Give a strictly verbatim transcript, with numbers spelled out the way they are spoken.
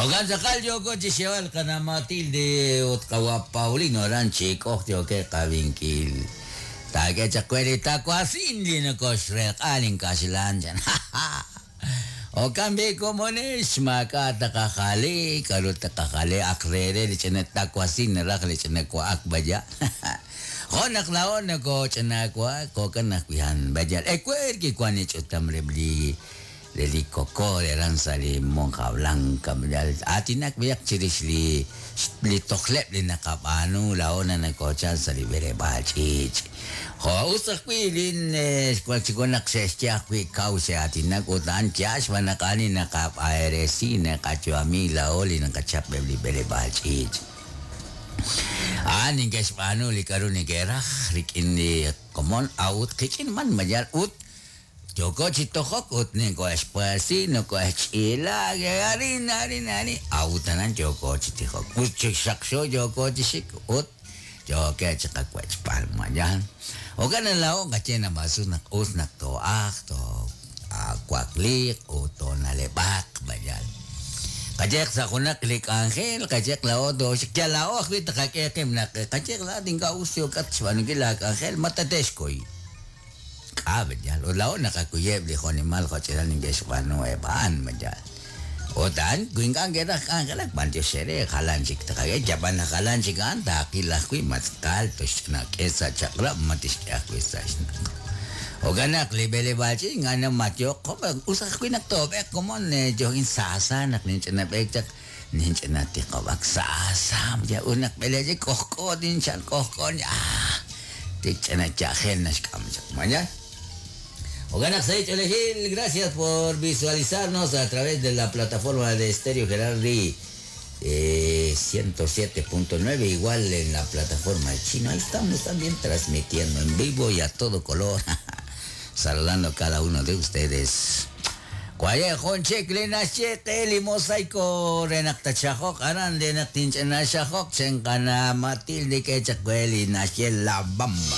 Ogan tz'aqal yooko chi xyeeb'al qana' Matilde ut qawa' Paulino aran chik'oj yookeb' qavinkil. Taak'e chaq we li tawasin li nokoxrelq'a linkaxlan chan. Okan b'i komonex maak'a' taqajali, k'aru taqajali aq re re li ch'ina tawasin naraj li ch'ina wa'ak b'aya. Jo' naq laa'o nokoch'ina wa'ak jo'kan ajwi' han b'ayal. Ewer kiwan li ch'utam re li re li koko re aran sa' li Monja Blanca b'ayal. Aatinak b'ayaq chirix li li tojleb' li naqab'aanu laa'o naq nokochal sa' li b'eleb'aal ch'iich'. Jo' us ajwi' lin xwan chi wan naq xe'xye ajwi' kaw xe'aatinak ut a'an yaal xb'aan naq a'an li naqab'eresi naqayu'ami laa'o li naqachap eb' li b'eleb'aal ch'iich'. A'an neke'xb'aanu li k'aru neke'raj rik'in li komon a'ut qik'in man mayal ut yooko chi tojok ut nokohe'xpuesi nokohe'xch'iila arin arin arin a'ut aran yooko chi tijok ut chi xaqxo yooko chi xik ut yookeb' chi qawech'b'al mayal. Jo'kan naq laa'o qaye naq us naq us naq too'ajq toowakliiq ut toona'leb'aq mayal. Qayeq sa' junaq li k'anjel qayeq laa'o tooxik yal laa'o ajwi' taqak'e qib' naq qayeq laa'at ink'a' us yookat xb'aanunkil laak'anjel ma tate'xkuy. K'a' mayal ut laa'o naqakuyeb' li jo'nimal jo'ch'inal neke'xb'aanu eb' a'an mayal. Ut a'an wi ink'a' neke'raj k'anjelak b'antiox eere jalan chik taqak'e yab'an naq jalan chik a'an taaqil ajwi' ma tz'aqal toxk'e sa' chaq'rab' ma tixk'e ajwi' sa' xnaq'. Jo'kan naq li b'eleb'aal ch'iich' ink'a' namayo'k us ajwi' naq toob'eq komon yo'in saasa naq ninch'ina b'eek chaq ninch'ina tiqob'ak saasa ut naq b'eleb'aal k'ojk'o tinchal k'ojk'o ah tik ch'ina yajel naxk'am chaq mayal. Jo'kan naq sa' ch'oolejil, gracias por visualizarnos a través de la plataforma de Estéreo Gerardi eh, ciento siete punto nueve, igual en la plataforma de Chino. Ahí estamos también transmitiendo en vivo y a todo color. Saludando a cada uno de ustedes. Cuaye jun chik li naxye qe li mosaico re naq tatxajok aran re naq tinch'ina xajok chenqana Matilde k'e chaq we li naxye La Bamba.